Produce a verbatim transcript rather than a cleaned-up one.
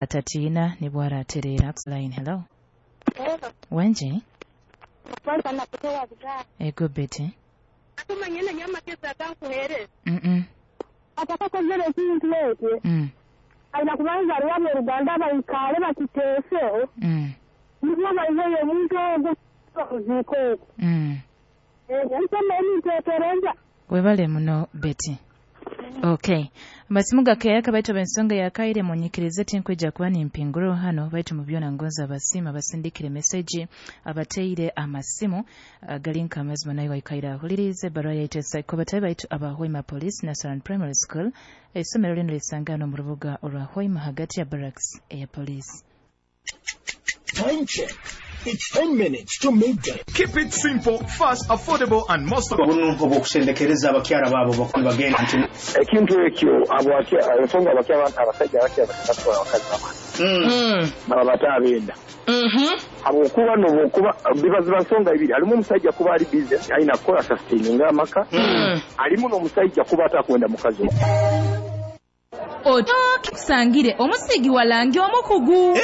Atatiina nibwaratereera. Line, hello. Wenji. Kwanza nakutoa bidhaa. Ego Betty. Atumanyene nyamagezi agankuheereza. Mm. Atakakozere ekintu ekyo. Mm. Aina kubanza aliwabya oruganda baikale bakiteese. Mm. Nibwo baiheyo omuntu ogwo okuziika okwo. Mm. Nsoma eminteekereza. Webale muno, Betty. Okay, amasimu gakeeyaka, baitu ab'ensonga yakaire munyikirize tinkwija kuba nimpinguro hano, baitu mu byona ngonza abasiima abasindikire meseji, abateire amasimu gali nka amazima nayo waikaire ahulirize ebbaruha yaitu esaiko batabe baitu aba Hoima Police Nasaran Primary School. Essomero lino lisangana mu rubuga olwa Hoima hagati ya barracks eya police. Time check. It's ten minutes to midday. Keep it simple, fast, affordable, and most of Bunu obwokusendekereza abakyala baabo bagenda nti Ekintu ekyo abo ensonga abakya abasajja abakya batwala abakazi baba baba bate abenda habwokuba nobwokuba biba ziba nsonga ibiri. Halimu omusajja kuba ali busy alina kukola sustaininga amaka, alimu n'omusajja kuba atakwenda mukazi. Otoki kusangire omusigi walangi omukugu.